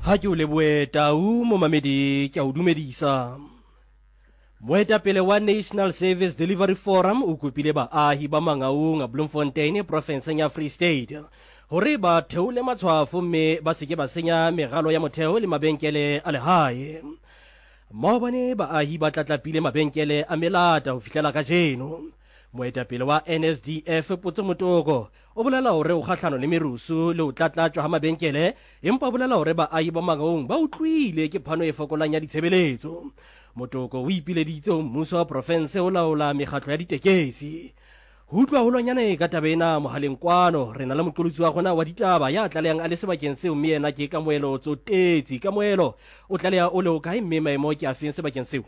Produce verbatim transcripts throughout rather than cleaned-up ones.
Ha ke o lebohe Tau momamedi ke a o dumedisa. Moetapele wa National Service Delivery Forum o kopile baahi ba Mangaung Bloemfontein profenseng ya Free State hore ba theole matshwafo mme ba se ke ba senya meralo ya motheo le mabenkele a lehae. Maobane baahi ba tlatlapile mabenkele a melata ho fihlela kajeno. Moetapele wa N S D F Potso Motoko o bolela hore o kgahlano le merusu le ho tlatlatjwa ha mabenkele, empa bolela hore baahi ba Mangaung ba utlwile ke phano e fokolang ya ditshebeletso. Motoko o ipileditse ho mmuso wa profense ho laola mekgatlo ya ditekesi. Ho utlwa holwanyane ka taba ena mohaleng kwano re na le moqolotsi wa rona wa ditaba ya tlalehang a le sebakeng seo, mme yena ke Kamohelo Tsotetsi. Kamohelo, o tlaleha o le ho kae mme maemo ke afeng sebakeng seo?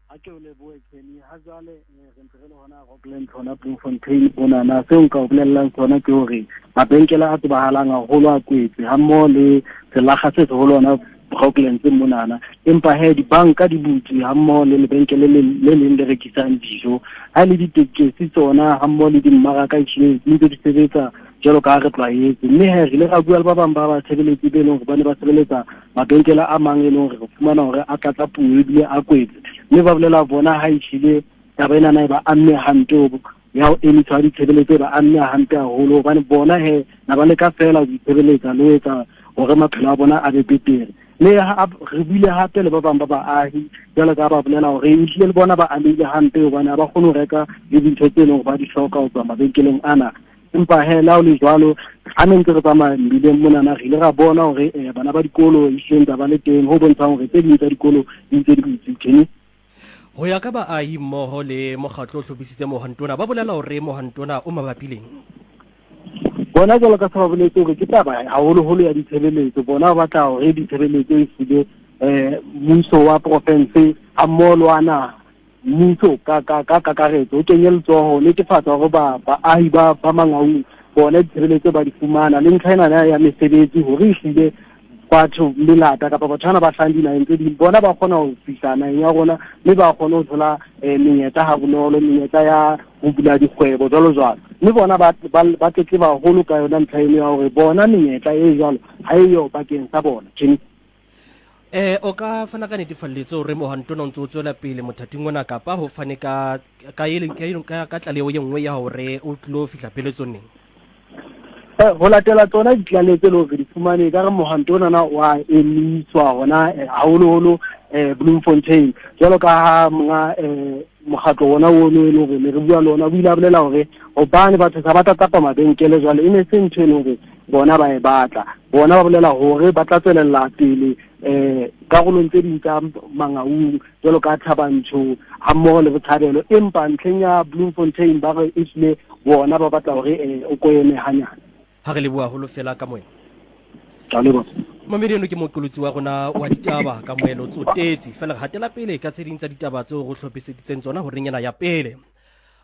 Ha ke o lebohe Kenny. Ha jwale re ntse re le hona Rockland, hona Bloemfontein monana. Seo nka o bolellang sona ke hore mabenkele a tsebahalang haholo a kwetse ha mmoho le selakga se seholo hona Rocklands monana, empa he dibanka di butswe ha mmoho le lebenkele le le leng le rekisang dijo. Ha le ditekesi tsona ha mmoho le dimmaraka ehlile di ntse di sebetsa jwalo ka ha re tlwaetse. Mme he re ile ra bua le ba bang ba batshebeletsi be leng hore ba ne ba sebeletsa mabenkele a mang e leng hore re fumana hore a tlatlapuwe ebile a kwetse, mme ba bolela bona ha ehlile taba enana e ba amme hampe ya ho emisa ditshebeletso, ba amme hampe haholo hobane bona he na ba leka feela ho itshebeletsa le ho etsa hore maphelo a bona a be betere. Mme re buile hape le ba bang ba baahi jwalo ka ba bolela hore ehlile le bona ba amehile hampe hobane ha ba kgone ho reka le dintho tse leng hore ba di hloka ho tswa mabenkeleng ana. Empa he le ha ho le jwalo, ha ne ntse re tsamaya mmileng monana re ile ra bona hore bana ba dikolo ehlile ntse ba le teng, ho bontshang hore tse ding tsa dikolo di ntse di butswe. Kenny, ho ya ka baahi mmoho le mokgatlo o hlophisitseng Mohantona, ba bolela hore Mohantona o mabapi leng? Bona jwalo ka se ba boletse hore ke taba haholoholo ya ditshebeletso. Bona ba batla hore ditshebeletso e hlile mmuso wa province ha mmoho le wa naha, mmuso ka ka ka kakaretso o kenye letsoho ho netefatsa hore ba baahi ba ba Mangaung bona ditshebeletso ba di fumana, le ntlha ena ya mesebetsi hore ehlile batho melata kapa batho bana ba hlahang dinaheng tse ding bona ba kgona ho fihla naheng ya rona mme ba kgone ho thola menyetla ha bonolo, menyetla ya ho bula dikgwebo jwalo jwalo. Mme bona ba ba tletleba haholo ka yona ntlha eno ya hore bona menyetla e jwalo ha eyo bakeng sa bona. Kenny, eh o ka fana ka netefalletso hore Mohantona o ntse o tswela pele mothating ona, kapa ho fane ka ka ka ka tlaleho e nngwe ya hore o tlo fihla pheletsong neng? Ho latela tsona ditlaleho tse leng hore di fumane, ka re mohanto onana wa emiswa hona haholoholo Bloemfontein, jwalo ka ha monga mokgatlo ona ono e leng hore ne re bua le ona o ile a bolela hore hobane batho sa ba tlatlapa mabenkele jwale e ne se ntho e leng hore bona ba e batla. Bona ba bolela hore ba tla tswelella pele karolong tse ding tsa Mangaung jwalo ka Thabantsho ha mmoho le Botshabelo, empa ntlheng ya Bloemfontein ba re ehlile bona ba batla hore o ko eme hanyane. Ha re leboha haholo fela Kamohelo. Ka leboha. Mamedi eno ke moqolotsi wa rona wa ditaba Kamohelo Tsotetsi. Fela re hatela pele ka tse ding tsa ditaba tseo re hlophiseditseng tsona horeng ena ya pele.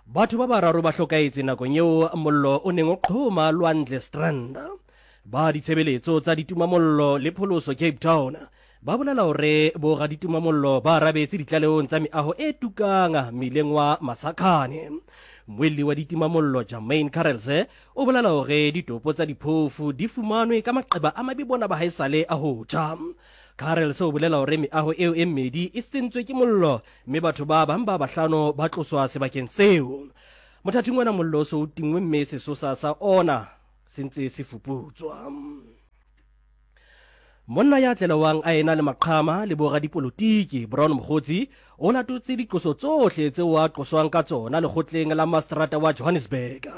Batho ba bararo ba hlokahetse nakong eo mollo o neng o qhoma Lwandle Strand. Ba ditshebeletso tsa ditimamollo le pholoso Cape Town ba bolela hore boraditimamollo ba arabetse ditlalehong tsa meaho e tukang mmileng wa Masakhane. Mmuelli wa ditimamollo Jermaine Carelse o bolela hore ditopo tsa diphofu di fumanwe ka maqeba a mabe bona ba haesale a ho tjha. Carelse o bolela hore meaho eo e mmedi e sentswe ke mollo mme batho ba bang ba bahlano ba tloswa sebakeng seo. Mothating ona mollo o so o tingwe mme sesosa sa ona se ntse se fuputswa. Monna ya tlelewang a ena le maqhama le boradipolotiki Brown Mogotsi o latotse diqoso tsohle tseo a qoswang ka tsona lekgotleng la mastrata wa Johannesburg.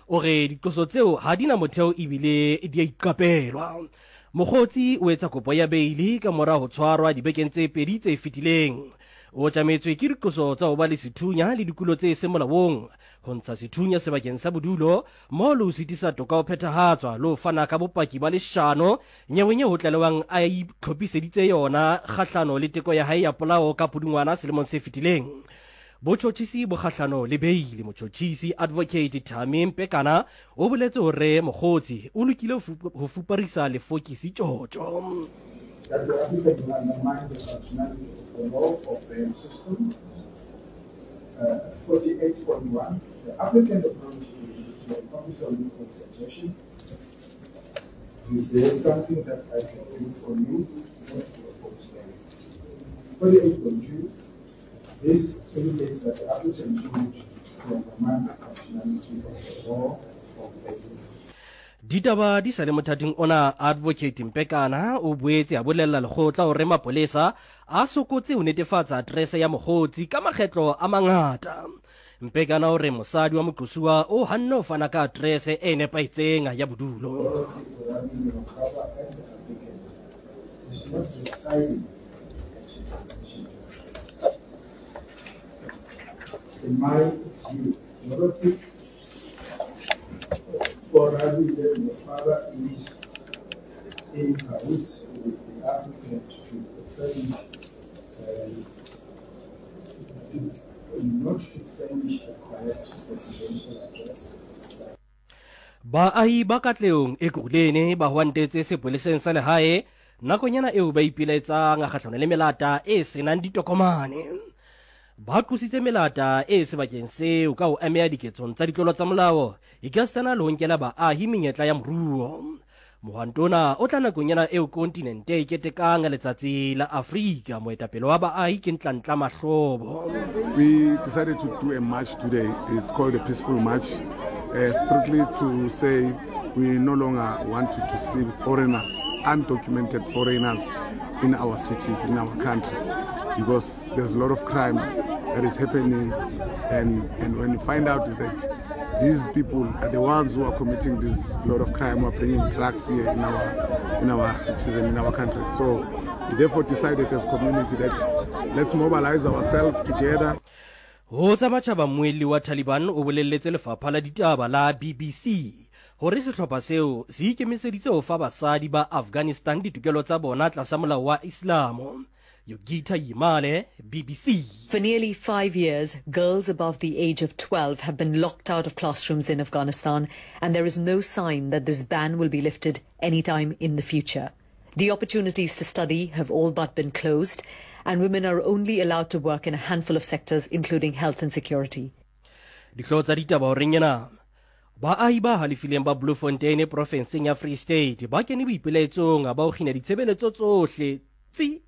O re diqoso tseo ha di na motheo ebile di a iqapelwa. Mogotsi o etsa kopo ya beili ka mora ho tshwarwa dibekeng tse pedi tse fetileng. O tjametswe ke diqoso tsa ho ba le sethunya le dikulo tse seng molaong, ho ntsha sethunya sebakeng sa bodulo mo le ho sitisa toka ho phethahatswa le ho fana ka bopaki ba leshano nyeweng eo ho tlalewang a itlhophiseditse yona kgahlano le teko ya hae ya polao ka Pudungwana selemong se fetileng. Botjhotjhisi bo kgahlano le beili. Motjhotjhisi Advocate Thami Mpekana o boletse hore Mogotsi o lokile ho fuparisa lefokisi tjotjo. That the applicant will undermine the functionality of the law of bail system. Uh, forty-eight point one, the applicant acknowledges the officer with suggestion. Is there something that I can do for you not to oppose them? forty-eight point two, this indicates that the applicant changed to undermine the functionality of the law of bail. Ditaba di sa le mothating ona, Advocate Mpekana o boetse a bolella lekgotla hore mapolesa a sokotse ho netefatsa aterese ya mokgotsi ka makgetlo a mangata. Mpekana o re mosadi wa moqosuwa o hanne ho fana ka aterese e nepahetseng ya bodulo. In my view, Dorothy Oarabile Mokgaba is in cahoots with the applicant to furnish, uh, not to furnish a correct residential address. Baahi ba Katlehong Ekurhuleni ba hwantetse sepoleseng sa lehae nakonyana eo ba ipelaetsang kgahlano le melata e senang ditokomane. Ba qositse melata e sebakeng seo ka ho ameha diketsong tsa ditlolo tsa molao ekasitana le ho nkela baahi menyetla ya moruo. Mohwantona o tla nakong ena eo kontinente e ketekang letsatsi la Afrika. Moetapele wa baahi ke Ntlantla Mahlobo. We decided to do a march today. It's called a peaceful march, uh, strictly to say we no longer want to, to see foreigners, undocumented foreigners in our cities, in our country, because there's a lot of crime that is happening, and, and when you find out is that these people are the ones who are committing this lot of crime, who are bringing drugs here in our, in our cities and in our country. So we therefore decided as a community that let's mobilize ourselves together. Ho tsa matjhaba, mmuelli wa Taliban o bolelletse lefapha la ditaba la B B C hore sehlopha seo se ikemiseditse ho fa basadi ba Afghanistan ditokelo tsa bona tlasa molao wa Islamo. Yogita Yimale, B B C. For nearly five years, girls above the age of twelve have been locked out of classrooms in Afghanistan, and there is no sign that this ban will be lifted anytime in the future. The opportunities to study have all but been closed, and women are only allowed to work in a handful of sectors, including health and security. Dihlooho tsa ditaba horeng ena. Baahi ba halefileng ba Bloemfontein profenseng ya Free State ba kene boipelaetsong ba ho kgina ditshebeletso tsohle tse